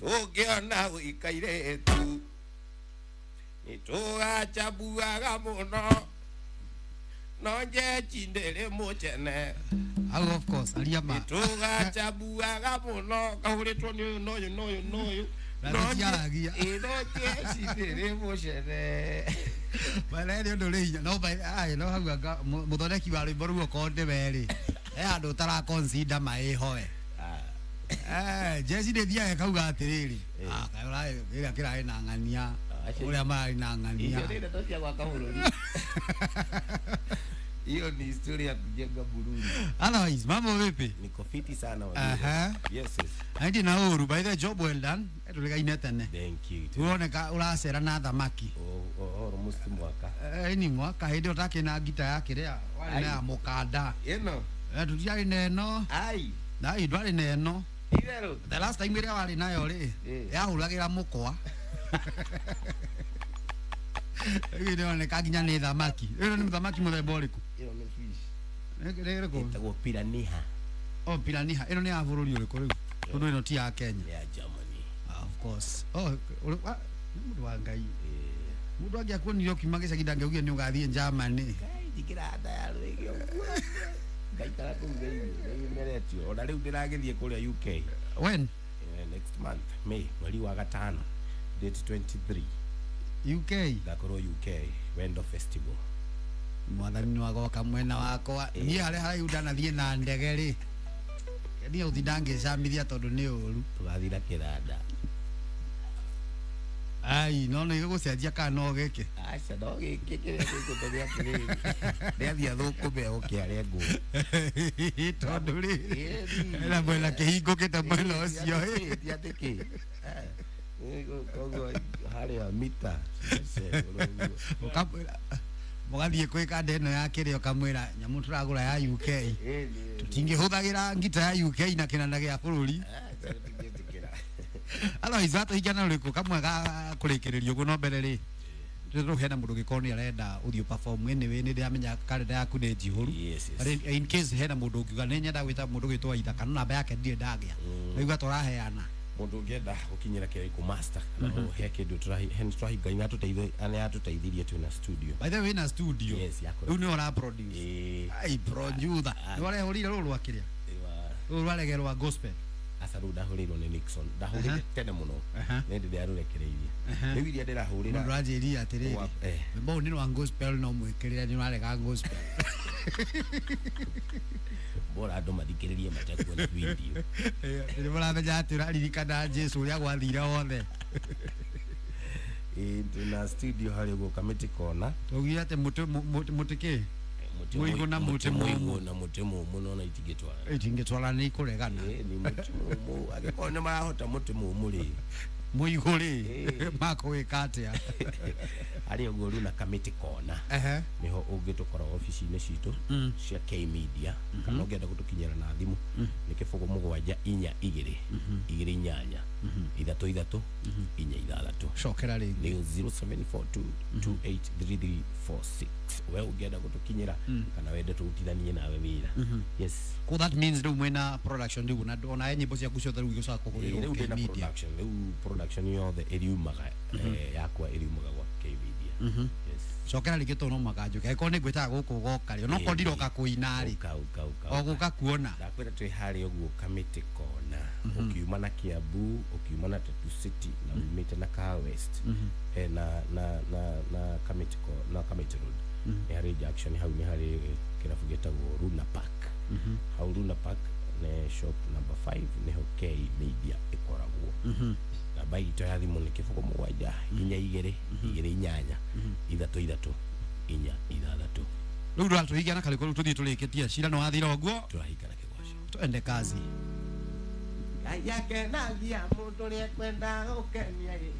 Tũngĩona gũikairetu nĩtũgacambuaga mũno no njechi ndĩrĩ mũcene. Hau of course aria ma. Nĩtũgacambuaga mũno kahũrĩtwo nĩ ũyũ na ũyũ na ũyũ na ũyũ. Na tũtiaragia. Ĩ no njechi ndĩrĩ mũcene. Bana nĩ ũndũ ũrĩ hinya no ai no hau anga mũthondeki wa rwĩmbo rũu okorwo nĩwe rĩ he handũ ũtara consider maĩ hoe. Jeshi nĩ thiaga ĩkauga atĩrĩrĩ, ah, kaĩ kĩrĩa kĩrarĩ na ng'ania ũrĩa mararĩ na ng'ania. Icio nĩ ndeto cia gwaka bũrũri. Hiyo ni historia ya kujenga Burundi. Otherwise, mambo vipi? Niko fiti sana waziri. Aha. Yes, yes. Aindi na ũru, by the job well done. Tũrĩgaine tene. Thank you. Ũroneka ũracera na thamaki. Oh, almost mwaka. Ni mwaka hĩndĩ ĩyo ũtakĩna ngita ya kĩrĩa warĩ na ya mũkanda. Ĩno. Tũtiarĩ na ĩno. Ai. Na ĩ ndwarĩ na ĩno. Itherũ. The last time ĩrĩa warĩ nayo rĩ, yahũragĩra mũkwa. Rĩu ĩroneka nginya nĩ thamaki. Ĩno nĩ thamaki mũthemba ũrĩkũ? Ĩno nĩ fish. Nĩ ĩrĩkũ? Ĩtagwo piranha. Oh, piranha. Ĩno nĩ ya bũrũri ũrĩkũ rĩu? Tondũ ĩno ti ya Kenya. Nĩ ya Germany. Ah, of course. Oh, nĩ mũndũ wa Ngai. Mũndũ angĩakuonire ũkiuma gĩcagi ndangĩaugire nĩ ũgathiĩ Germany. Ngai njikĩra nda ya rwĩgĩ ũguo. Ngaikara kũu thĩinĩ, nĩmeretio. Ona rĩu ndĩragĩthiĩ kũrĩa UK. When? Next month, May, mweri wa gatano, date 23. UK? Ngakorwo UK, Wendo Festival. Mwathani nĩ agoka mwena wakwa. Niĩ harĩa haraihu ndanathiĩ na ndege rĩ. Niĩ gũtinda ngĩcamithia tondũ nĩ ũru. Tũgathiĩ na kĩranda. Ai, no nĩ gĩgũcenjia kana no gĩkĩ? Aca, no gĩkĩ kĩrĩa gĩkũtũmia atĩrĩrĩ. Nĩathiĩ athũkũme oke arengwo. Tondũ rĩ, na mwena kĩhingũkĩte mwena ũcio. Ti atĩ kĩ. Koguo harĩa mita. Mũgathiĩ kwĩ kanda ĩno ya kĩrĩa ũkamwĩra nyamũ tũragũra ya UK. Tũtingĩhũthagĩra ngita ya UK na kĩnanda gĩa bũrũri. Otherwise watũhingana ũrĩkũ kamwe ga kũrĩkĩrĩria ũguo no mbere rĩ rĩu hena mũndũ ũngĩkorwo nĩ arenda ũthiĩ perform anyway nĩ ndĩramenya kalenda yaku nĩ njihũru. Yes, yes. But in case hena mũndũ ũngiuga nĩ nyenda gwĩta mũndũ ũgwĩtwo Aitha kana namba yake ndirĩ ndagĩa. Nĩguo tũraheana. Mũndũ ũngĩenda gũkinyĩra kĩrĩa master kana he kĩndũ tũrahinga nĩatũteithirie twĩna studio. By the way na studio. Yes, yakũra. Rĩu nĩwe ũra produce. Ai producer. Nĩ warehũrire rũrũ rwa kĩrĩa? Rũrũ rwaregerwa gospel. Aca rĩu ndahũrĩirwo nĩ Nixon. Ndahũrĩire tene mũno. Nĩ ndĩ ndĩarũrekereirie. Rĩu iria ndĩrahũrĩra. Mũndũ anjĩrire atĩrĩrĩ. Rwĩmbo rũu nĩ rwa gospel no mwĩkĩrĩre nĩ ũrarega gospel. Bora andũ mathikĩrĩrie matekuona video. Nĩ mũramenya atĩ ũraririkana Jesu ũrĩa gwathire wothe. Twĩna studio harĩa ũguo Kamĩtĩ Kona. Twaugire atĩ mũtĩ kĩ? Mũigũ na mũtĩ mũmũ. Mũigũ na mũtĩ mũmũ no na itingĩtwarana. Itingĩtwarana nĩ ikũregana. Nĩ mũtĩ mũmũ. Angĩkorwo nĩ marahota mũtĩ mũmũ rĩ. Mũigũ rĩ, makũwĩka atĩa? Harĩa ũguo rĩu na Kamĩtĩ Kona. Nĩho ũngĩtũkora obici-inĩ citũ cia K Media. Kana ũngĩenda gũtũkinyĩra na thimũ nĩ 0 7 4 2 2 8 3 3 4 6. Cokera rĩngĩ. Nĩ 0742 283346. We ũngĩenda gũtũkinyĩra kana wende tũrutithanie nawe wĩra. Yes. Ko that means rĩu mwĩna production rĩu na ona nyĩmbo ciaku ciothe rĩu igũcoka kũhũrĩrwo Rĩu K ndĩna Media. production, rĩu production yothe ĩriumaga yakwa ĩriumaga gwa K Media. Yes. Cokera rĩngĩ tondũ no mũhaka njũke. Angĩkorwo nĩ ngwĩtaga gũkũ ũgoka rĩ, onokorwo ndiroka kũina rĩ. Ũka, ũka, ũka, O gũka kuona. Ndakwĩra twĩ harĩa ũguo Kamĩtĩ Kona. Ũkiuma na Kiambu, ũkiuma na Tatu City na umĩte na Kaa West. Na Kamĩtĩ na Kamĩtĩ Road. Nĩ harĩ junction hau nĩ harĩ kĩrabu gĩtagwo Runa Park. Hau Runa Park nĩ shop number 5 nĩho K Media ĩkoragwo. Namba itũ ya thimũ nĩ 0 7 4 2 2 8 3 3 4 6. Rĩu rũratũhingana karĩkũ rĩu tũthiĩ tũrĩkĩtie cira nĩ wathira ũguo. Tũrahingana kĩgoco. Twende kazi. Ngai akenagia mũndũ ũrĩa ekwenda gũkenia ĩ.